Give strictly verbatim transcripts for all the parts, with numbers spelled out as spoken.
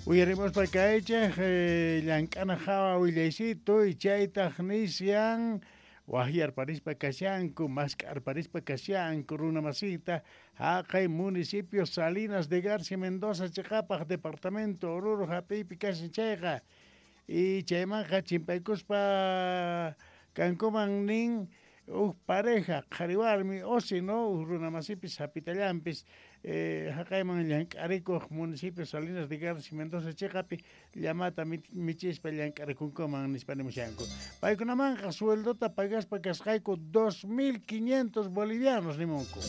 Uyarimuspa kaychik llank'ana hawa willaysitu y chaytaq nisyan wahyarparispa kashanku mask'arparispa kashanku runa masita haqay municipio Salinas de Garcia Mendoza chiqapaq departamento Oruro hap'iypi kashan chayqa y chaymanqa chimpaykuspa kankuman nin huk pareja qhari warmi o si no huk runa masipis hapitallanpis eh, haqayman llank'arikuq municipio Salinas de Garcia Mendoza chiqapi llamata michispa llank'arikunkuman nispa nimushanku. Paykunamanqa sueldota pagaspa kasqayku dos mil quinientos bolivianos nimunku.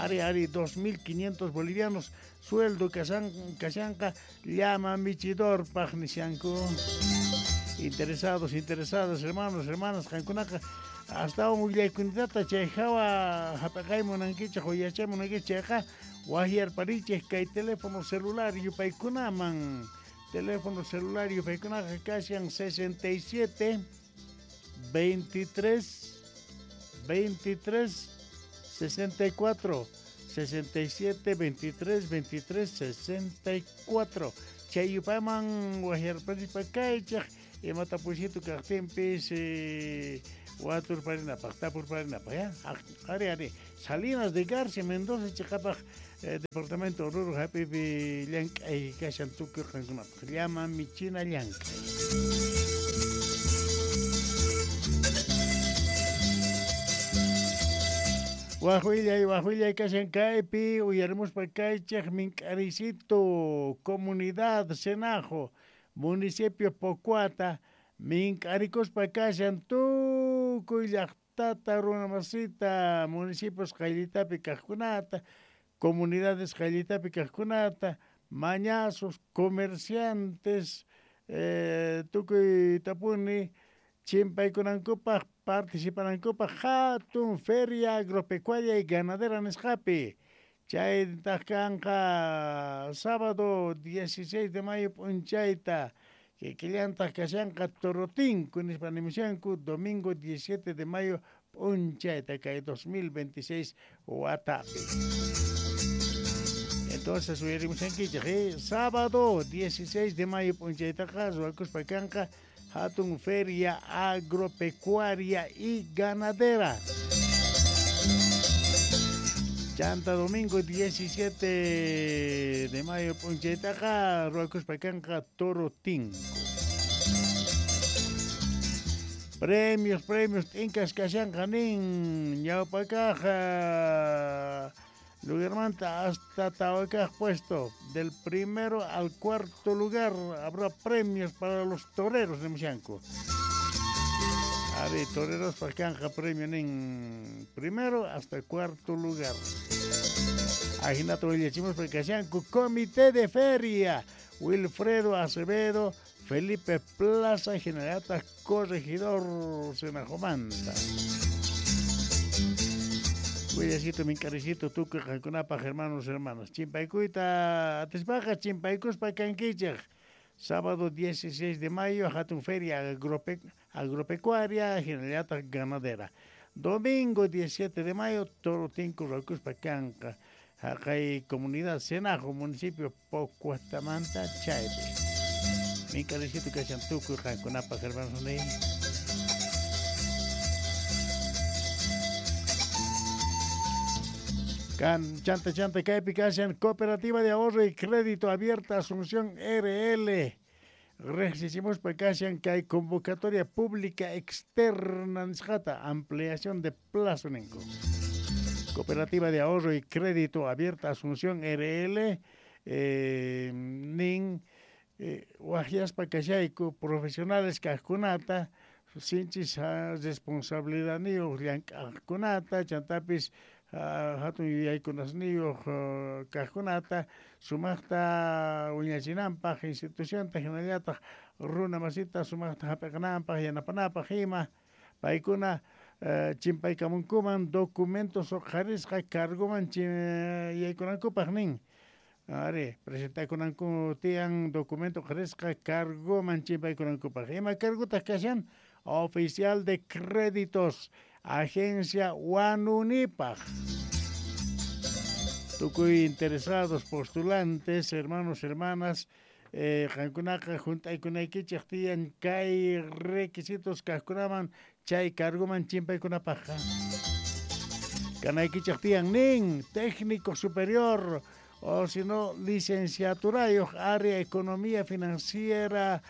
Ari, ari, dos mil quinientos bolivianos sueldo kashan, kashanqa llama michidorpaq nishanku. Interesados, interesadas, hermanos, hermanas, qankunaqa hasta un willaykunitata chay hawa hap'aqay munankichik o yachay munankichik chayqa wahyarparichik kay teléfono celular yupaykunaman. Teléfono celular yupaykunaqa kashan sesenta y siete, veintitrés, veintitrés, sesenta y cuatro, sesenta y siete, veintitrés, veintitrés, sesenta y cuatro. Chay yupayman wahyarparispa kaychik imata pushitu kaqtinpis eh, waturparinapaq tapurparinapaq ya ari ari Salinas de Garcia Mendoza chiqapaq eh, departamento Oruro hap'ipi llank'ay kashan tukuy qankunapaq llama michina llank'ay. Wajwillay wajwillay kashan kaypi uyarimuspa kaychik mink'arisito comunidad Senajo municipio Pocuata mink'arikuspa kashan tukuy llaqtata runa masita municipios qayllitapi kaqkunata comunidades qayllitapi kaqkunata mañazos comerciantes eh, tukuy tapuni chimpaykunankupaq participanankupaq hatun feria agropecuaria y ganadera nisqapi chaytaq kanqa sábado dieciséis de mayo p'unchayta kikillantaq kashanqa Torotinku nispa nimushanku domingo diecisiete de mayo p'unchayta kay dos mil veintiséis watapi. Entonces uyarimushankichik eh? Sábado dieciséis de mayo p'unchaytaqa ruwakuspa kanqa hatun feria agropecuaria y ganadera. Chanta domingo diecisiete de mayo p'unchaytaqa ruwakuspa kanqa Torotinko. Premios, premios, t'inkas kashanqa nin ñawpakaq lugarmanta hasta tawakaq puesto. Del primero al cuarto lugar habrá premios para los toreros de Mushanco. Ari, toreros pa kanja premio nin primero hasta cuarto lugar. Ajinato willachimos pa kashanku Comité de Feria, Wilfredo Acevedo, Felipe Plaza, Generata Corregidor Senajomanta. Willacito, minkaricito, tukuy qankunapaq hermanos, hermanas. Chimpaykuyta atispaqa chimpaykuspa kankichik. Sábado dieciséis de mayo, hatun feria agrope, agropecuaria, generalata ganadera. Domingo diecisiete de mayo, Torotinku ruwakuspa kanqa. Haqay comunidad Senajo, municipio Pocuatamanta, chaypi. Minkaricito kashan tukuy qankunapaq hermanos ni. Can, chanta, chanta, kaypi kashan Cooperativa de Ahorro y Crédito Abierta Asunción R L. Riqsichimuspa kashan kay convocatoria pública externa nisqata ampliación de plazo ninku. Cooperativa de Ahorro y Crédito Abierta Asunción R L eh, nin eh, waqyaspa kashayku profesionales kaqkunata sinchis responsabilidadniyuq llank'aqkunata chantapis hatun yuyaykunasniyuq kaqkunata sumaqta wiñachinanpaq institucionta hinallataq runa masita sumaqta hap'iqananpaq yanapanapaq ima paykuna chimpaykamunkuman documentos uqharisqa cargoman yaykunankupaq nin. Ari, presentakunanku tiyan documento uqharisqa cargoman chimpaykunankupaq. Ima cargotaq kashan oficial de créditos Agencia Huanunipaj. Tukuy interesados, postulantes, hermanos, hermanas, eh, qankunaqa junt'aykunaykichik tiyan kay requisitos kaqkunaman chay cargoman chimpaykunapaqqa. Kanaykichik tiyan nin técnico superior o si no licenciaturayuq área economía financiera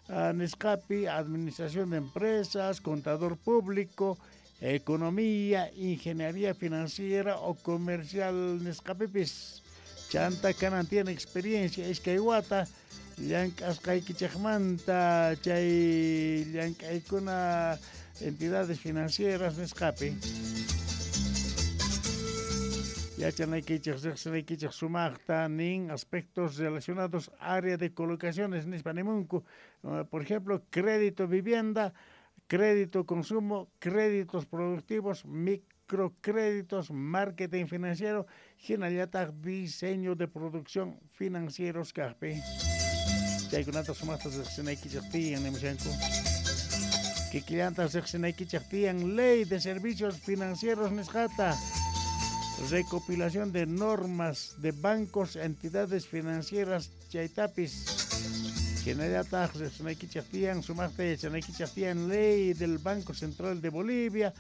uh, nisqapi, administración de empresas, contador público, economía, ingeniería financiera o comercial nisqapipis. Chanta kanan tiene experiencia iskay wata llank'asqaykichikmanta chay llank'aykuna entidades financieras nisqapi. Yachanaykichik riqsinaykichik sumaqta nin aspectos relacionados área de colocaciones nispa nimunku, por ejemplo, crédito vivienda, crédito consumo, créditos productivos, microcréditos, marketing financiero, hinallataq diseño de producción financieros kaqpi. Chaykunata sumaqta riqsinaykichik tiyan nimushanku. Kikillanta riqsinaykichik tiyan ley de servicios financieros nisqata, recopilación de normas de bancos, entidades financieras chaytapis. Hinallataq riqsinaykichik tiyan sumaqta yachanaykichik tiyan ley del Banco Central de Bolivia,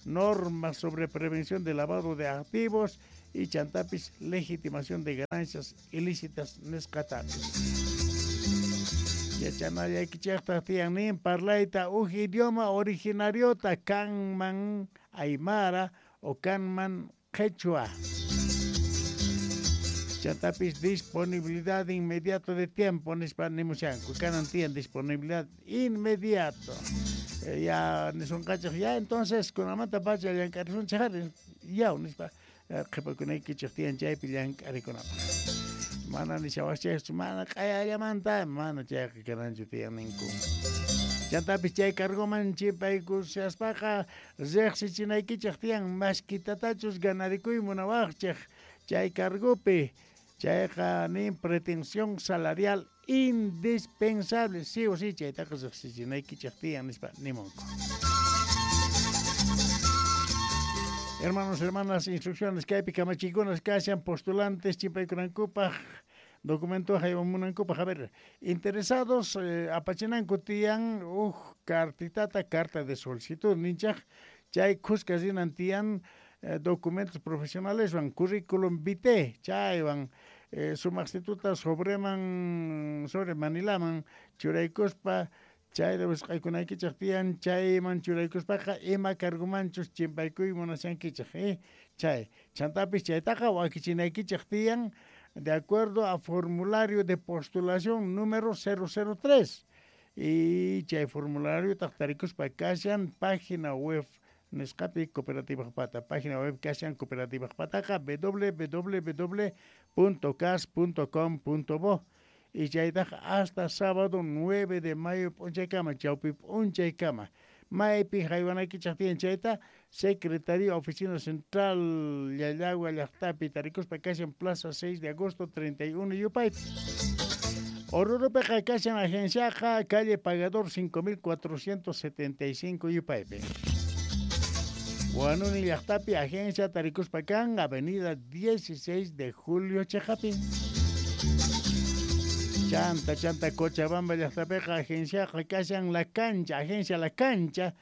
normas sobre prevención de lavado de activos y chantapis legitimación de ganancias ilícitas nisqatapis. Yachanallaykichikta tiyan nin parlayta uj idioma originariota kanman aymara o kanman quechua. Chantapis disponibilidad inmediato de tiempo nispa nimushanku, kanan tiyan disponibilidad inmediato. Eh, ya nisunqachik ya entonces kunamanta pacha llank'arisunchik ari yaw nispa qhipakunaykichik tiyan chaypi llank'arikunapaq. Mana nishawachikchu mana q'ayallamanta mana chayqa kananchu tiyan ninku. Chantapis chay cargoman chimpaykushaspaqa riqsichinaykichik tiyan mashkitatachus ganarikuy munawaqchik chay cargopi. Chayqa nin pretensión salarial indispensable, sí o sí chaytaqa riqsichinaykichik tiyan nispa nimunku. Hermanos, hermanas, instrucciones kaypi kamachikunas kashan postulantes chimpaykunankupaq documento haywamunankupaq. A ver, interesados eh, apachinanku tiyan uj cartitata, carta de solicitud ninchaq chay khuska rinan tiyan eh, documentos profesionales van currículum vitae chaywan eh, sumaqstituta sobreman sobre Manilaman churaykuspa chayta wisq'aykunaykichik tiyan chayman churaykuspaqa ima cargomanchus chimpaykuy munashankichik eh chay chantapis chaytaqa wakichinaykichik tiyan de acuerdo a formulario de postulación número cero cero tres y chay formulario tarikuspa kashan página web nisqapi Cooperativa Pata, página web kashan Cooperativa Pataqa w w w punto cas punto com punto bo y chaytaq hasta sábado nueve de mayo p'unchaykama chawpi p'unchaykama maypi haywanaykichik tiyan chayta Secretaría Oficina Central Llallagua llaqtapi tarikuspa kashan Plaza seis de agosto treinta y uno yupaypi. Orurupiqa kashan agenciaqa calle Pagador cinco mil cuatrocientos setenta y cinco yupaypi. Huanuni llaqtapi agencia tarikuspa kan Avenida dieciséis de Julio Chejapi. Chanta, chanta, Cochabamba llaqtapiqa agenciaqa kashan La Cancha, agencia La Cancha,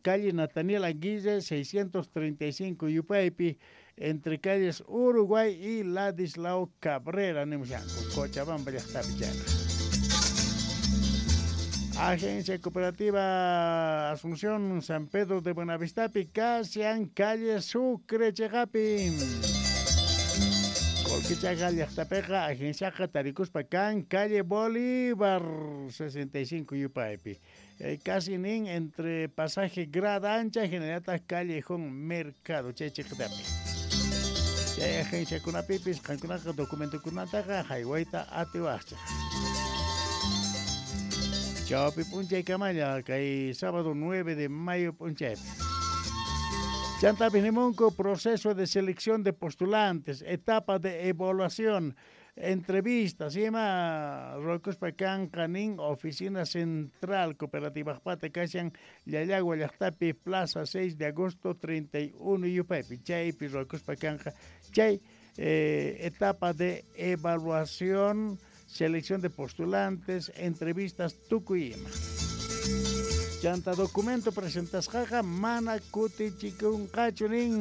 calle Nataniel Aguirre seiscientos treinta y cinco yupaypi, entre calles Uruguay y Ladislao Cabrera, nimushanku, Cochabamba llaqtapi chayqa. Agencia Cooperativa Asunción San Pedro de Buenavistapi, kashan calle Sucre cheqapi. Colquichaqa llaqtapiqa agenciaqa tarikuspa kan calle Bolívar sesenta y cinco yupaypi. Eh, casi nin entre pasaje Grada Ancha hinallataq Callejón Mercado chay chiqtapi. Chay agenciakunapipis qankunaqa documentokunataqa haywayta atiwaqchik. Chawpi p'unchaykamalla kay sábado nueve de mayo p'unchaypi. Chantapis nimunku proceso de selección de postulantes, etapa de evaluación, entrevistas, ima ruwakuspa kanqa nin Oficina Central Cooperativa Pata kashan Llallagua llaqtapi Plaza seis de agosto treinta y uno yupaypi chaypi ruwakuspa kanqa chay eh, etapa de evaluación Selección de postulantes, entrevistas, tukuy ima. Chanta documento presentasqaqa mana kutichikunqachu nin.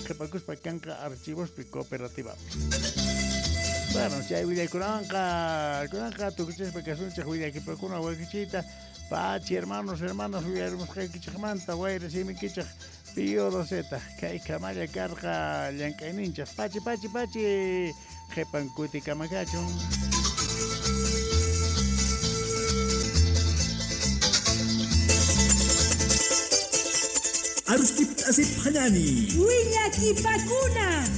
Qhipakuspa kanqa archivospi cooperativapi. Bueno, chay willaykunawanqa kunanqa tukuchispa kasunchik willakipakuna wakichiyta. Pachi hermanos, hermanas, willarimusqaykichikmanta wayra simikichik Pío Doceta, kay kamalla karqa llank'ayninchik. Pachi, pachi, pachi, qhipan kutikamakachun. Arustip asip hanani. Willakipakuna.